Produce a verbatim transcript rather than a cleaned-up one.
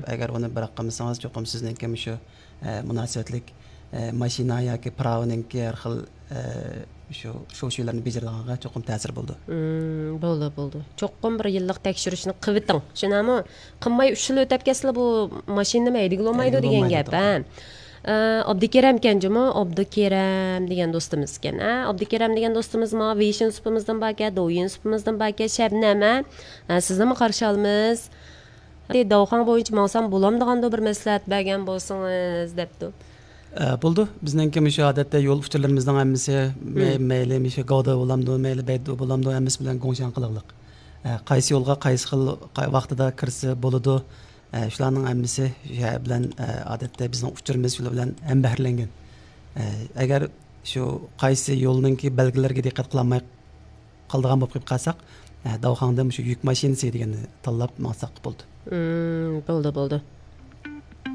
ئەگەر ئۇنى بىراق قىلمىسىڭىز، چوقۇم سىزنىڭكى مۇشۇ ئە، مۇناسىۋەتلىك ئە، ماشىنا ياكى پىراۋىنىڭكى ھەر خىل ئە، شۇ شۇشۇلارنى بېجىرىدىغانغا چوقۇم تەسىر بولىدۇ. بولىدۇ، بولىدۇ. چوقۇم بىر يىللىق تەكشۈرۈشنى قىلىۋېتىڭ. شۇنداقمۇ؟ قىلماي ئۈچ يىل ئۆتۈپ كەتسىلا، بۇ ماشىنىنى ھەيدىگىلى بولمايدۇ دېگەن گەپ. ھە. ئابدۇكېرەمكەن جۇمۇ، ئابدۇكېرەم دېگەن دوستىمىزكەن. ھە، ئابدۇكېرەم دېگەن دوستىمىز ماڭا ۋېيشىن سۇپىمىزدىن باركەن، دوۋيىن سۇپىمىزدىن باركەن، شەبنەم، ھە. ھە، سىزنىمۇ قارشى ئالىمىز. داۋخاڭ بويىچە ماڭسام بولامدىغاندۇ، بىر مەسلىھەت بەرگەن بولسىڭىز، دەپتۇ. ئە، بولىدۇ. بىزنىڭكى مۇشۇ ئادەتتە يول ئۇچۇرلىرىمىزنىڭ ھەممىسى مەي-، مەيلى مۇشۇ گاۋدا بولامدۇ، مەيلى بەيدۇ بولامدۇ، ھەممىسى بىلەن گوڭشەن قىلىغلىق. ئە، قايسى يولغا قايسى خىل قا-، ۋاقتىدا كىرسە بولىدۇ. ئە، شۇلارنىڭ ھەممىسى شۇ بىلەن، ئە، ئادەتتە بىزنىڭ ئۇچۇرىمىز شۇلار بىلەن ھەمبەھىرلەنگەن. ئە، ئەگەر شۇ قايسى يولنىڭكى بەلگىلىرىگە دىققەت قىلالماي قالىدىغان بولۇپ قېلىپ قالساق، ئە، داۋخاڭدىن شۇ يۈك ماشىنىسى دېگەننى تاللاپ ماڭساق بولدى. بولدى، بولدى.